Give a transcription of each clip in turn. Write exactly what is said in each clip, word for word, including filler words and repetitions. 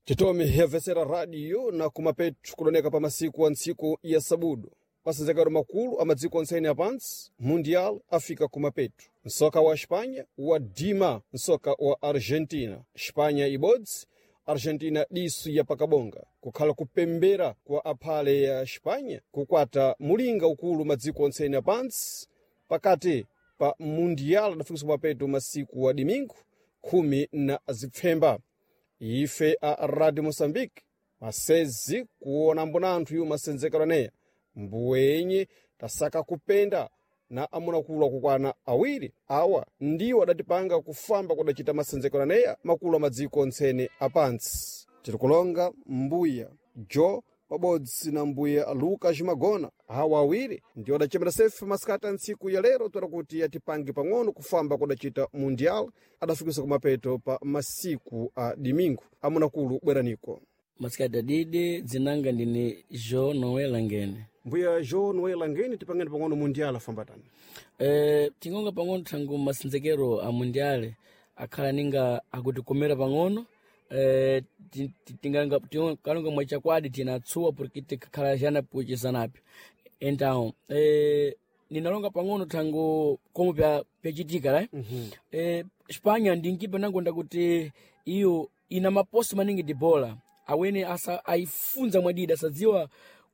Titomi yavesera radio na kumapetu kuloneka pa masiku a ntsiku ya sabudu masenzekero makulu a madziko ontsene apansi mundial afika kumapetu nsoka wa Espanha wa dima nsoka wa Argentina. Espanha ibodzi, Argentina disu ya pakabonga, kukhala kupembera kwa aphale ya Espanha kukwata mulinga ukulu madziko ontsene apansi pakati pa mundial adafikisa kumapetu masiku wa dimingu khumi na zipfemba. Ife a Radio Moçambique masezi kuona mbona anthu iwo masenzekero aneya mbuwenye tasaka kupenda na amunakulu akukwana awiri awa ndiwo adatipanga kufamba kudacita masenzekero aneya makulu a madziko ontsene apantsi. Tiri kulonga mbuya Jo pabodzi na mbuya Lucas Magona. Awa awiri ndiwo adachemera sefe masikati a ntsiku ya lero toera kuti atipange pang'ono kufamba kudacita mundial adafikisa kumapeto pa masiku a dimingu. Amunakulu, bweraniko. Masikati adidi, dzinanga ndine Jo Noel Langene. Mbuya Jo Noel Langene, tipangeni pang'ono mundial afambatani. Eh, tingonga pang'ono thangu masenzekero a mundiale akhala ninga akutikomera pang'ono. Eh, ti- ti- tinganga tingo- kalonga mwachakwadi tinatsuwa porque tikakhala xana puchisanapi. Então eh, ninalonga pang'ono thangu como pya pyachitika lai. eh, Espanha ndi nkipa nangonda kuti iyo ina maposi maningi di bola awene asa ayifunza mwadidi asadziwa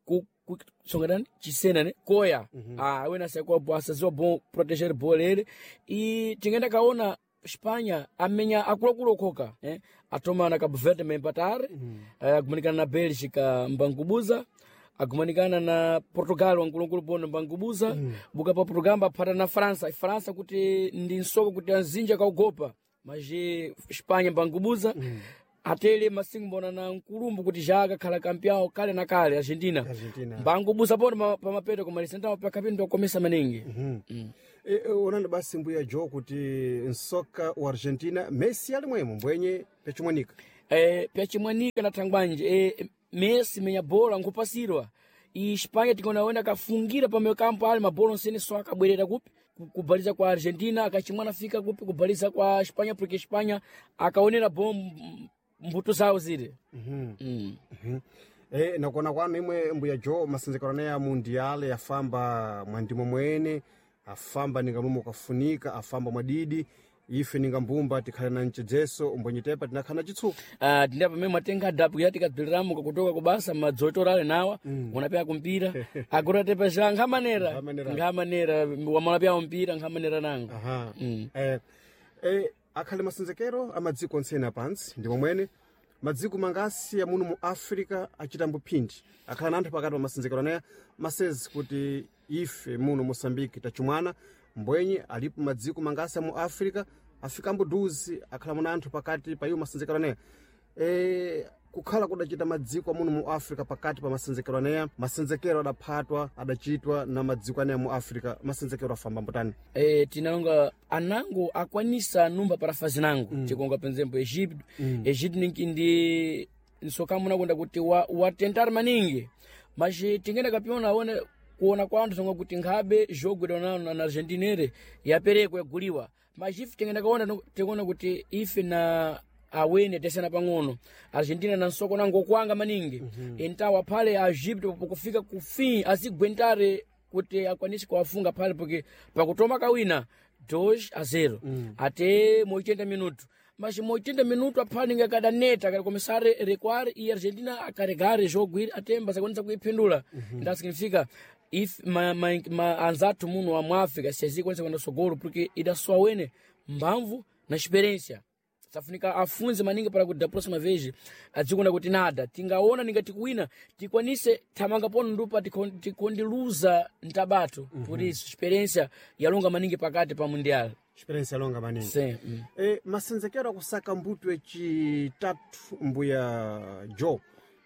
ku, ku, songatani chisena ne koya. Ah, awene asakuwa bo asadziwa bon proteger bola ere i tingenda kaona Espanha amenya akuluakulu okhoka, eh? Atoma na Cabo Verde mempatare, eh, agumanikana na Bélgica mbangubuza, agumanikana na Portugal wankulunkulu bono mbangubuza. Buka pa Portugal mbaphata na França. França kuti ndi nsoko kuti anzinja kaugopa maji Espanha mbangubuza. Atele masingu mbona na nkulumbu kuti já akakhala kampeão kale na kale Argentina, Argentina. mbangubuza bono pa pamapeto kumalisa ntawo pakapindu akomesa maningi. mm. E, e, onani basi mbuya Jo kuti nsoka wa Argentina Messi ali mwemo mbwenye pechimwanika. eh, pyachimwanika na thangwanje, eh, Messi menya bola nkupasirwa i Espanha tikonaona kafungira pa kampo ali mabola onsene so akabwerera kupi Ku- kubaliza kwa Argentina akachimwana fika kupi kubaliza kwa Espanha porque Espanha akaonera bom mbuto zawo zile. mm. E, nakuona kwanu imwe mbuya Jo masenzekero aneya mundial yafamba mwandimo mwene afamba ninga momwe ukafunika afamba mwadidi ife ninga mbumba tikhale na mchedzeso mbwenye tepa tinakhala na chitsuko. Uh, tinda pamene matenga adapu ya tikabviliramo kakutoka kubasa madzotorale nawa mm. unapya kumpira akura tepa ja nkhamanera Nkhamanera. Nkhamanera wamalapya mpira nkhamanera nango. Aha. Mm. Eh, eh, akhale masenzekero a madziko ontsene apansi ndi momwene madziko mangasi amuno mu Africa achitambo phindi akhala na anthu pakati pa masenzekero aneya masezi kuti ife muno Moçambique tachumwana mbwenye alipo madziko mangasi amu Africa afikambo duzi akhala muna anthu pakati pa iwo masenzekero aneya. E, kukhala kudachita madziko amuno mu Africa pakati pa masenzekero aneya masenzekero adaphatwa adachitwa na madziko aneya mu Africa masenzekero afamba mbutani. eh, tinalonga anango akwanisa numba para fazinango mm. Tikonga penzempo Egipto. mm. Egipto ninki ndi nsokamu nakonda kuti wa, watentar maningi mas tingenda kapiona aone kuona kwa anthu songa kuti nkhabe jogwedwa nano na Argentina ere yaperekwa yaguliwa mas ife tingenda kaona no- tikuona kuti ife na awene tesana pang'ono Argentina na nsoko nango kwanga maningi. mm -hmm. Entawa aphale a Egipto pokufika ku fim azigwentare kuti akwanise kuwafunga phale porque pakutoma kawina dois a zero. mm. Ate mu oitenta minuto mas mu oitenta minuto aphale ninga kadaneta akacomeçar a recuar e Argentina a carregar jogo ir até mbasakwanisa kuiphindula. mm -hmm. Então significa if ma, ma, ma anzathu muno wa mu África se azikwanisa kuenda sogolo porque ida só awene mbamvu na experiência safunika afunze maningi para kuti da próxima vez adzikonda kuti nada tingaona ningati kuwina tikwanise thamanga pono ndupa tikon- tikondiluza mtabato. Por isso experiência yalonga maningi pakati pa mundial. Experiência longa maningi. Sim. mm. E, masenzekero akusaka mbuto yachitatu mbuya Jo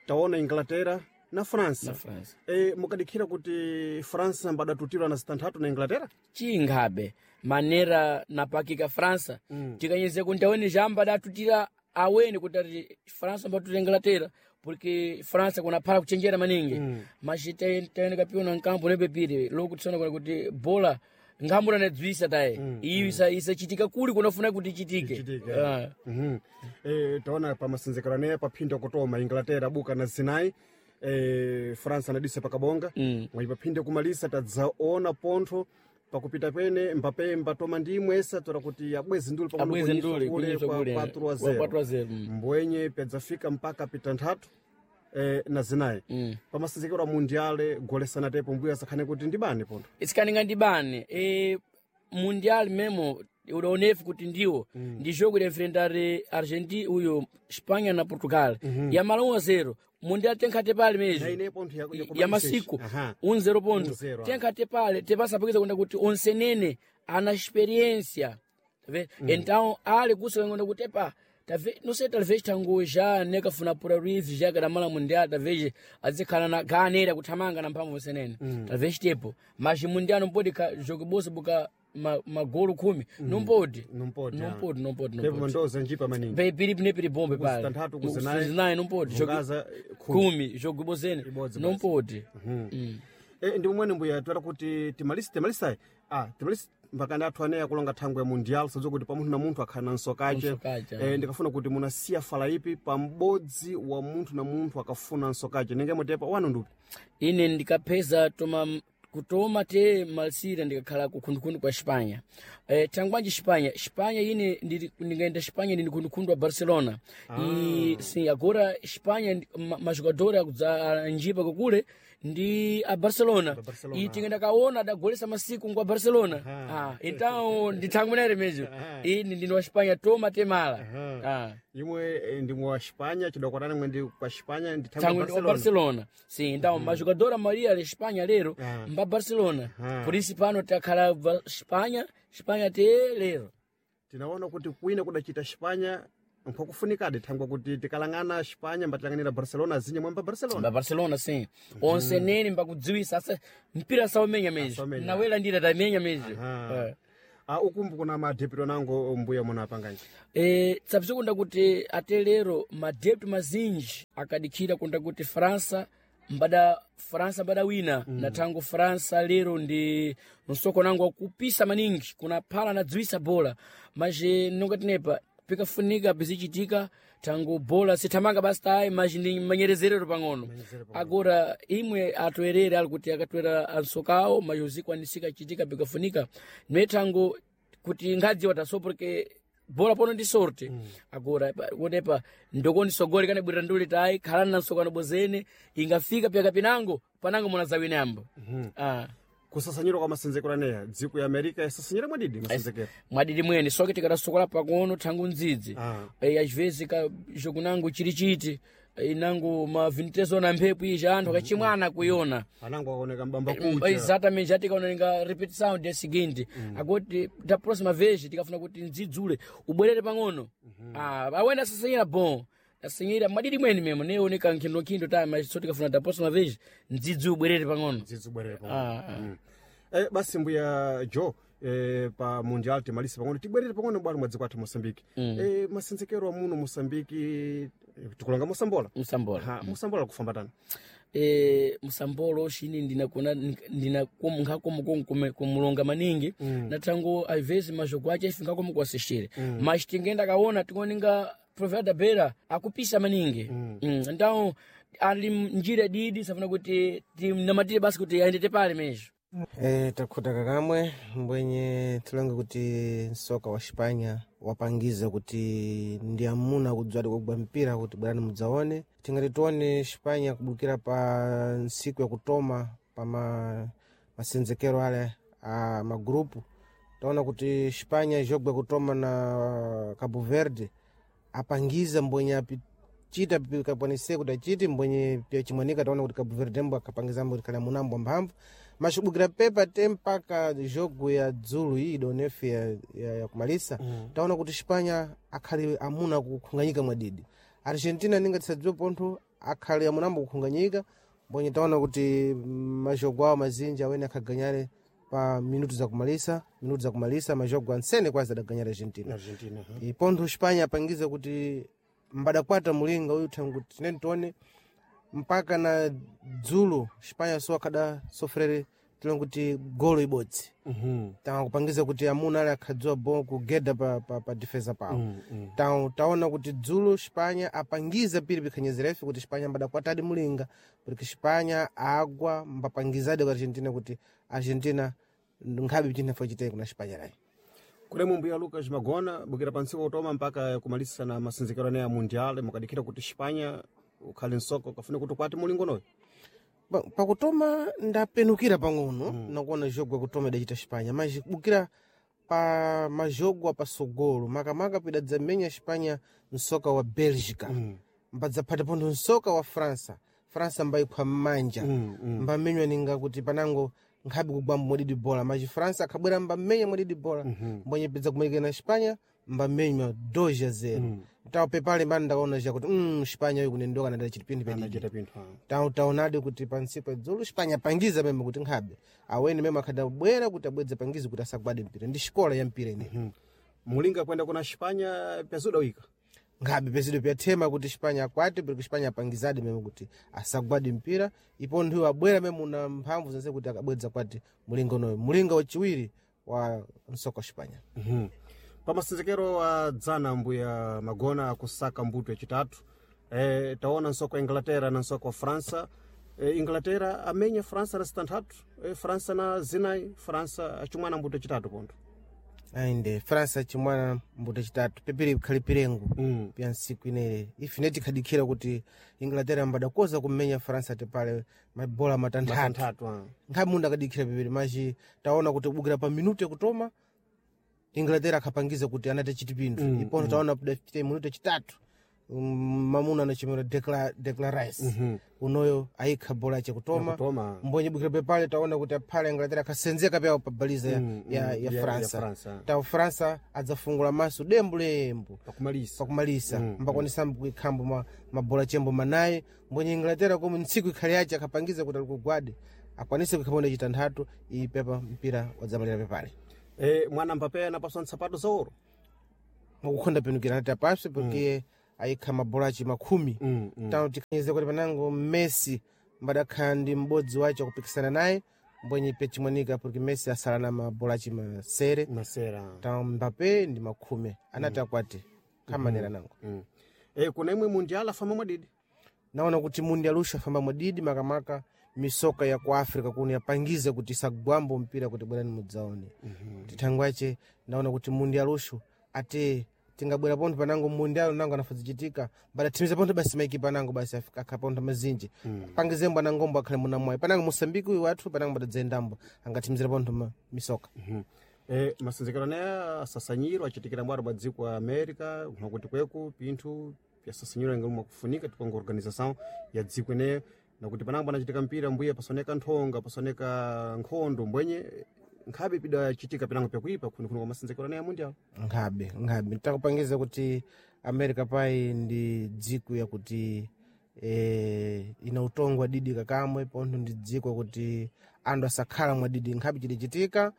taona Inglaterra na França. Na France. E, mukadikhira kuti França mbadatutirwa na zitanthatu na Inglaterra. Chingabe manera napakika França. mm. Tikanyeze kuti awene jamba datutira awene kuti ati França mbatutira Inglaterra porque França kunaphala kuchenjera maningi. mm. Mas taene kapiona nkampo nepepire lokutisona kuna kuti bola nkhambura nadzwisa taye iyo isa isachitika kuli kunafuna kuti ichitike Ichitike. Ah. Mhm. Eh, taona pamasenzekero aneya paphinda kutoma Inglaterra buka na Sinai eh, France anadisa pakabonga Mm. mwayi paphinde kumalisa tadzaona pontho pakupita pene Mbappe mbatoma ndi imwesa tora kuti abweze nduli pang'ono Abweze kunyiswa nduli, kule kunyiswa kwa kule, quatro a kwa zero. quatro a zero, mm. mbwenye pedzafika mpaka pita nthatu eh, na zinayi Mm. pamasenzekero a mundiale golesana tepo mbuya asakhane kuti ndibani pontho isikaninga ndibane e, mundial memo udaonefu kuti ndiwo mm. ndi jogo de enfrentar Argentina uyo Espanha na Portugal mm -hmm. yamala um a zero mundial tenkhate pale na mesmo ine pontho ya, ya, ya masiku Aha. um zero ponto Um zero, ah. tenkhate pale tepasapikisa kwenda kuti onsenene ana experiência tá mm. então ali kusa kuti epa talvez não sei talvez tango já nekafuna pura rivi já kadamala mundial talvez azikhala na ganera kuthamanga na mphamvu senene mm. talvez tepo mas mundial não pode ka jogo bosa buka ma, magolo khumi mm. não pode Não pode, não ah. pode não pode não Tepo pode mandoza njipa maningi Pe- piri pine piri bombe pale Kuzitantatu, kuzinayi. kuzinayi não pode jogo Vugaza, eh, khumi. khumi jogo bozene Ibodzi não basi. pode E, ndi umwene mbuya twera kuti timalisi timalisayi ah timalisi mpaka athu aneya kulonga thangwe ya mundial sadziwa kuti pa munthu na munthu akhala na nsokache Nsokache, e, ndikafuna kuti munasiya fala ipi pa m'bodzi wa munthu na munthu akafuna nsokache ninge mutepa wanu ndupi ine ndikapeza toma kutoma te malsira ndikakhala kukhundukhundu kwa Espanha eh, thangwanji Espanha Espanha ine ndiri- ndingaenda Espanha ndini khundukhundu wa Barcelona ah. e, sim agora Espanha ndi- ma- majogador akudza anjipa kukule ndi a Barcelona, Barcelona. e tinga ndakaona adagolesa masiku ngwa Barcelona ah, então ndithangwenere mesmo ine ndini wa Espanha toma te mala ah. imwe eh, ndimwe wa Espanha chidakwatana mwe ndi kwa Espanha ndi thangwe Tango ndi wa Barcelona Barcelona. Sim, então, mm. majogador a maioria da Espanha lero, Ah. mba Barcelona. Ah. Por isso pano takhala va Espanha, Espanha te lero. tinaona kuti kwina kudachita Espanha nkwakufunikadi thangwe kuti tikalang'ana Espanha mbatilanganira Barcelona azinye mwamba Barcelona Mba Barcelona sim. Onse nene mbakudziwisa asa mpira saumenya mesmo. Asaumenya. Nawela ndira tamenya mesmo. Aha. Eh. Ah, ukumbu kuna madepito nango mbuya munapanganji Eh, tsapsikunda kuti ate lero madepto mazinji akadikhira kunda kuti França mbada França mbada wina mm. na tango França lero ndi msoko nango wakupisa maningi kuna phala nadziwisa bola mas eh, nonga tinepa pikafunika pizichitika tango bola sithamanga basi tayi mas ndi manyerezerero pang'ono agora imwe atoerere ali kuti akatwera ansokawo mas uzikwanisika chitika pikafunika niwe tango kuti ngadziwa taso porque bola pono ndi sorte mm. agora pa- kunepa ndokoni sogole kana bwirira nduli tayi khalani na nsokano bozene ingafika pyaka pinango panango munazawina yambo mm -hmm. ah. kusasanyira kwa masenzekero aneya dziko ya america yasasanyira mwadidi masenzekero mwadidi mwene soke tikadasokola pang'ono thangu ndzidzi Ah. e, às vezes ka jogo nango chili chiti e, nango ma vinte na mphepo ija anthu akachimwana kuiona anango akaoneka mbamba kucha exatamente já tikaonenga repetição dia seguinte agora da próxima vez tikafuna kuti ndzidzule ubwerere pang'ono ah awena asasanyira bom asanyira madidi mwene memo neoneka nkhindonkhindo ta mas so tikafuna da próxima vez ndzidzi ubwerere pang'ono dzidzi ubwerere pang'ono ah, ah. Eh, basi mbuya jo eh, pa mundial timalise pang'ono tibwerere pang'ono bwalo mwa dziko athu moçambique mm. eh, masenzekero amuno moçambique eh, tikulonga mosambola msambola ha mosambola kufamba tani e, msambolo shini ndinakuna ndinakumulonga kumulonga maningi mm. na tango às vezes majogo ache ife ngakomo kuasistir mm. mas tingenda kaona tikuoninga Provera Beira akupisa maningi mm. Mm. então ali njira didi safuna kuti tinamatire basi kuti aendete pale mesmo E, takhuta kakamwe mbwenye tilange kuti msoka wa Xipanya wapangiza kuti ndi amuna kudzwadi kugwa mpira kuti bwerani mudzaone tingati tione Xipanya kubukira pa ntsiku yakutoma pa ma, masenzekero ale a magrupu taona kuti Xipanya jogwa kutoma na Cabo Verde apangiza mbwenye apichita pikakwanise kuti achite mbwenye pya chimwanika taona kuti Cabo Verde mbo akapangiza mbo khala munambo mphamvu machibukira pepa te mpaka jogo ya dzulu iyi idonefe ya, ya, ya kumalisa mm. taona kuti Xipanya akhali amuna kukhunganyika mwadidi Argentina ninga tisadziwe pontho akhali amunambo kukhunganyika mbwenye taona kuti majogo awo mazinji awene akhaganyale pa minutu za kumalisa minutu za kumalisa majogo ansene kwazi adaganyala Argentina argentina ha. ipontho Xipanya apangiza kuti mbadakwata mulinga uyu thangu tineni tione mpaka na dzulo Xipanya so akhada sofrere tilonga kuti golo ibodzi mm takupangiza kuti amuna ali akhadziwa bo kugeda pa, pa, pa defesa pawo -hmm. mm Ta- taona kuti dzulo xipanya apangiza piri pikhanyezera ife kuti xipanya mbadakwatadi mulinga porque xipanya agwa mbapangizadi ku argentina kuti argentina nkhabe chinthu chitei kuna xipanya layi kulemu mbuya Lucas Magona bukira pansiku kutoma mpaka kumalisa na masinzikiro ane ya mundial mukadikira kuti Xipanya ukhale nsoko kafune kuti ukwate mulingonoyo Ba- pakutoma ndapenukira pang'ono mm. nakuona jogo akutoma idachita xipanya mas bukira pa majogo apasogolo makamaka pidadzamenya xipanya msoka wa belgica mm. mbadzaphata pontho msoka wa frança frança mbayiphwa m'manja mm, mm. mbamenywa ninga kuti panango nkhabe kugwamba mwadidi bola mas frança akhabwera mbamenya mwadidi bola mm -hmm. mbonyepedza kumalikira na xipanya mbamenywa dois a zero mm. tawo pepale mbani ndakaona ja kuti mm, xipanya uyu kunendoka nadala chitipindi pedidi anachita pinthu ah. Ta- taonadi kuti pansiku adzulu xipanya pangiza meme kuti nkhabe aweni meme akhadabwera kuti abwedze pangizi kuti asagwade mpira ndi xikola ya mpira ineyi Mm. mulinga kwenda kuna Xipanya pyazuda wika nkhabe pezido pyathema kuti xipanya akwate porque xipanya apangizadi meme kuti asagwade mpira ipo nthuyo abwera meme una mphamvu zense kuti akabwedza kwati mulinga unoyo mulinga wachiwiri wa msoko wa xipanya mm pamasinzikiro a dzana mbuya Magona akusaka mbuto yachitatu e, taona nsoko wa Inglaterra na nsoko wa França e, Inglaterra amenya França na zitanthatu e, França na zinayi França acimwana mbuto yachitatu pontho ainde frança chimwana mbuto chitatu pepiri khali pirengo mm. pya ntsiku ineyi ife tikhadikhira kuti inglaterra mbadakoza kumenya frança tipale mabola matanthatu matanthatu ah. nkhabe mundu akadikhira pepiri machi taona kuti kubukira pa minuto yakutoma inglaterra akhapangiza kuti anati chitipindu mm, ipono mm. taona kudafite minuto yachitatu mm, mamuna anachimera Decla- Declan Rice mm -hmm. unoyo ayikha bola chakutoma Yakutoma. mbonye bukira pepale taona kuti aphale inglaterra akhasenzeka pyawo pa baliza ya, Mm, ya, mm, ya, ya- ya frança França. tawo frança adzafungula maso dembulembu pakumalisa pakumalisa mm, mbakwanisa kuikhambo ma, mabola chembo manayi mbonye inglaterra komwe ntsiku ikhali yace akhapangiza kuti ali kugwade akwanise kuikhaponda chitanthatu iyi pepa mpira wadzamalira pepale e, mwana Mbappé anapaswa nsapato za ouro mwakukhonda penukira anati apaswe porque ayikha mabola aci makhumi mm, mm. tano tikhanyeze kuti panango messi mbadakhala ndi m'bodzi wace akupikisana naye mbonye pe chimwanika porque messi asala na mabola aci masere masera tano mbappe ndi makhume anati akwate khamanera nango mm. e, kuna imwe mundial afamba mwadidi naona kuti mundi alusha famba mwadidi makamaka misoka ya ku africa kuno yapangiza kuti isagwambo mpira kuti bwerani mudzaone mm -hmm. tithangwache ndaona kuti mundi alushu ate tingabwera pontho panango mundi alo nango anafazichitika mbadathimiza pontho basi maikipa anango basi afika- akha pontho mazinji mm. pangizembo anangombo akhale munamwayi panango mosambiki uyu wathu panango mbadadzayendambo angathimizira pontho ma- misoka mm -hmm. e, masinzikiro anaya asasanyiro achitikira mwaro bwa dziko a America nakuti kweku pinthu pyasasanyiro inga mwakufunika tipanga organização ya dziko ineyo nakuti panango panachitika mpira mbuya pasoneka nthonga pasoneka nkhondo mbwenye nkhabe pidachitika pinango pyakuipa kunikuni kwa masinzikiro anaya mundial nkhabe nkhabe takupangiza kuti america pai ndi dziko yakuti eh, ina utongo wadidi kakamwe pontho ndi dziko kuti anthu asakhala mwadidi nkhabe chidachitika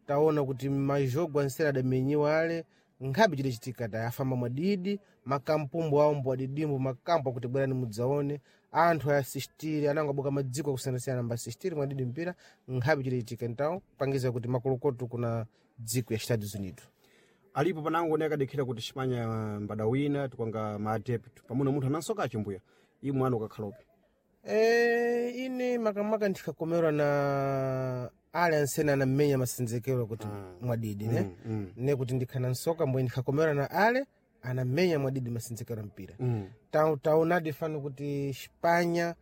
taona kuti majogo ansera adamenyiwa ale nkhabe chidachitika ta afamba mwadidi makampumbu awo mbwadidimbo makampu akuti bwerani mudzaone anthu ayasistiri anango abuka madziko akusiyanasiyana mbasistiri mwadidi mpira nkhabe chidachitika ntawo pangiza kuti makolokoto kuna dziko ya Estados Unidos alipo panango ne akadikhira kuti xipanya mbadawina tikwanga maadepto pamuna munthu anansoka achimbuya iye mwana ukakhalope Eh, ine makamaka ndikhakomerwa na ale ansene anamenya masenzekero kuti mwadidi ne mm. ne kuti ndikhana nsoka mbwe ndikhakomerwa na ale anamenya mwadidi masenzekero mpira mm. Ta- taonadi fano kuti xipanya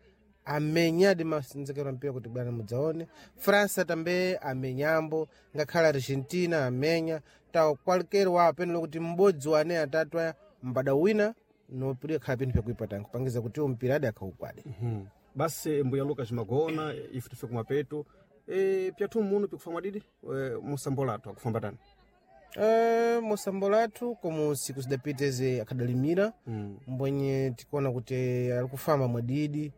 amenyadi masenzekero mpira kuti bwana mudzaone frança tambe amenyambo ngakhale argentina amenya tawo kwalikero wa apenelo kuti m'bodzi wa ane atatu aya mbada wina nopira khala pinthu pyakuipa tango pangiza kuti mpira adi akhaukwade mm. basi mbuya Lucas Magona ife tife kumapeto e, pyathu muno pikufa mwadidi e, musambolathu akufamba tani Eh, musambo lathu komo siku zidapiteze akhadalimira mm. mbwenye tikuona kuti ali kufamba mwadidi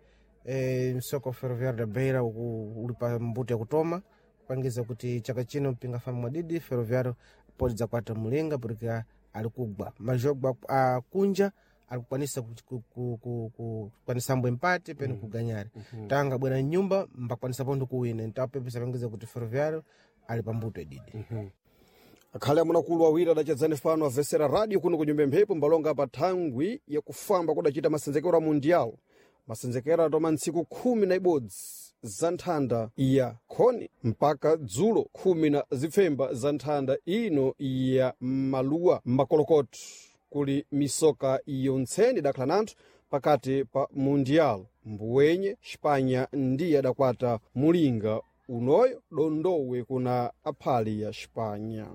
eh, msoko wa ferroviário da beira uku uli pa mbuto yakutoma kupangiza kuti chaka chino mpingafamba mwadidi ferroviário pode dzakwata mulinga porque ali kugwa majogo akunja alikukwanisa ku- ku- ku- ku- ku- kukwanisa mbwe empate pene kuganyare tanga bwera nyumba mbakwanisa pontho kuwina ntapepe sapangiza kuti Ferroviário ali pambuto ididi. Akhale amunakulu awiri adachedzani fano avesera radio kuno ku nyumba mphepo mbalonga pa thangwi yakufamba kudachita masenzekero a mundial, masenzekero atoma ntsiku khumi na ibodzi za nthanda ya khoni mpaka dzulo khumi na zipfemba za nthanda ino ya maluwa makolokoto. Kuli misoka yontseni idakhala nanthu pakati pa mundial, mbuwenye Xipanya ndiye adakwata mulinga unoyo dondowe kuna aphali ya Xipanya.